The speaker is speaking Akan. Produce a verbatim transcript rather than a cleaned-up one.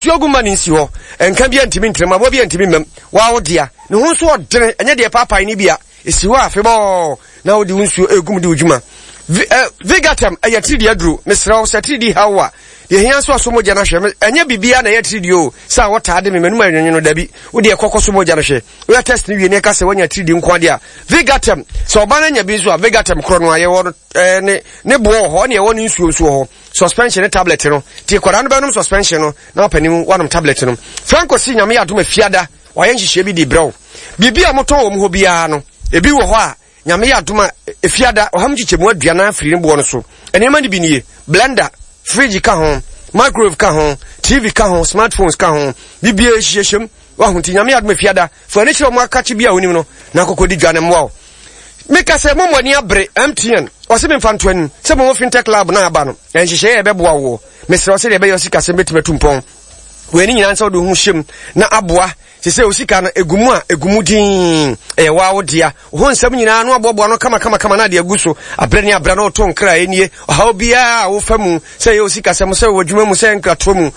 Nsuo gu ma no nsi hɔ. Nka biara ntumi ntrem, aboa biara ntumi mmam. Waa wo dea. Ne ho nso ɔdene, ɛnyɛ deɛ paapae no bi a ɛsi hɔ a afebɔɔ na wode wo nsuo ɛgu mu de wo dwuma. Vi, eh, Vigatem ɛyɛ tiridi aduro. Mesrɛ wo sɛ tiridi haw wo a, deɛ hia nso aso mogya no ahwɛ. Ɛnyɛ biribiara na ɛyɛ tiridi o, sɛ a wɔtaa de me m'anum ayɛ nwonwono dabi. Wo deɛ kɔkɔ so mogya no hwɛ. Woyɛ test no wie na ɛka sɛ woanya tiridi nko adeɛ a, Vigatem, sɛ ɔba no anya bi nso a, Vigatem korɔ no a yɛwɔ no eh, ne, ne boɔ wɔ hɔ, ɛne ɛwɔ ne nsuo nso wɔ hɔ. Suspension ne tablet no. Nti akwadaa no bɛnom suspension no na ɔpanin wanom tablet no. Franco si Nyame yɛ adom afiada wayɛ nhyehyɛe bi de brɛ wo. Biribi a wɔtɔn wɔ mu hɔ biara no, ebi wɔ hɔ a Nyame yɛ adom a efiada ɔha mu nkyekyɛmu aduanan afiri ne boɔ no so. Nneɛma no bi nie, blender, fridge ka ho, microwave ka ho, T V ka ho, smartphones ka ho, biribiara hyehyɛ mu. Wahu nti Nyame yɛ adom afiada fa ani kyerɛ wɔn akakye bi a wonim no na akɔkɔdi dwa no mmoa wo. Meka sɛ mo ani abere M T N ɔsɛ memfa nto anim sɛ mo fintech lab na aba no nhyehyɛeɛ a ɛbɛboa woɔ. Mesrɛ wo sɛdeɛ ɛbɛyɛ sikasɛm bɛtumi atu mpɔn wei ne nyinaa sɛ wode ho hyɛm na aboa te sɛ osika no egu mu a egu mu din ɛyɛ waa wo dea wo ho nsɛm nyinaa no aboaboa no kama kama kama na ade agu so abrɛ ne abrɛ na ɔto nkra ɛnie. Ɔhaw biara a wofa mu, sɛ ɛyɛ osikasɛm, sɛ wɔ adwuma mu, sɛ nkratoɔ mu.